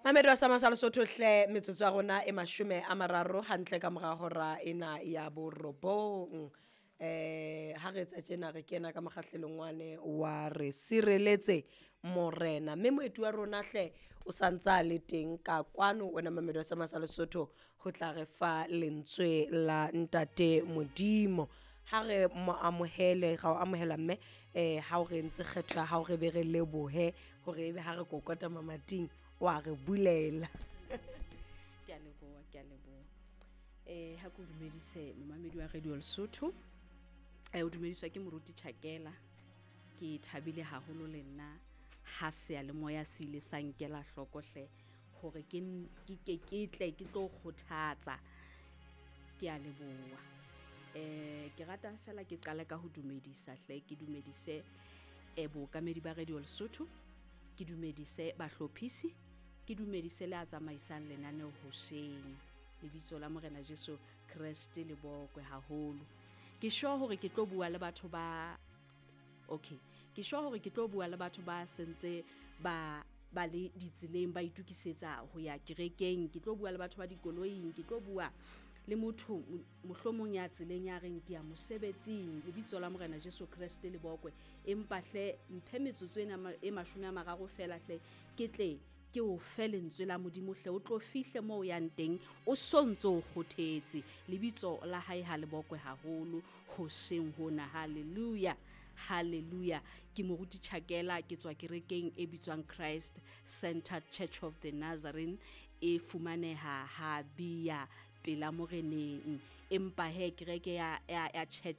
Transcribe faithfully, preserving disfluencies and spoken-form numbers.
Mamedi wa Sama sa Lesotho hle, metsotso ya rona e mashome a mararo hantle ka mora hora ena ya borobong. Eh ha re etsa tjena, re kena ka mokgahlelong wane wa re sireletse morena, mme moeti wa rona hle o santsa le teng ka kwano, wena mamedi wa Sama sa Lesotho, ho tla re fa lentswe la ntate Modimo. Ha re mo amohele, ra o amohela mme. Eh ha o re entse kgetho ya hao, re be re lebohe hore ebe ha re kokota mamating wa re bulela. Ke a leboha, ke a leboha. eh ha ke o dumedise, momamedi wa Radio Lesotho. eh o dumediswa ke moruti Chakela. Ke thabile haholo le nna ha seyalemoya se ile sa nkela hloko hle hore ke ke ke ke tle ke tlo kgothatsa. Ke a leboha. eh ke rata fela ke qale ka ho dumedisa hle, ke dumedise eh bookamedi ba Radio Lesotho, ke dumedise bahlophisi, ke dumedise le a tsamaisang lenaneo hoseng. Lebitso la Morena Jesu Kreste le bokwe haholo. Ke sure hore ke tlo bua le batho ba, okay, ke sure hore ke tlo bua le batho ba sentse ba ba le ditseleng, ba itukisetsa ho ya kerekeng. Ke tlo bua le batho ba dikoloing, ke tlo bua le motho mohlomong ya tseleng ya reng ke ya mosebetsing. Lebitso la Morena Jesu Kreste le bokwe. Empa hle mphe metsotso ena e mashome a mararo fela hle, ke tle ke o fe lentswe la Modimo hle, o tlo fihle moo o yang teng o sontso o kgothetse. Lebitso la hae ha le bokwe haholo hoseng hona. Hallelujah, hallelujah. Ke moruti Chakela, ke tswa kerekeng e bitswang Christ Centered Church of the Nazarene, e fumaneha ha Bia pela Moreneng. Empa he kereke ya ya, ya church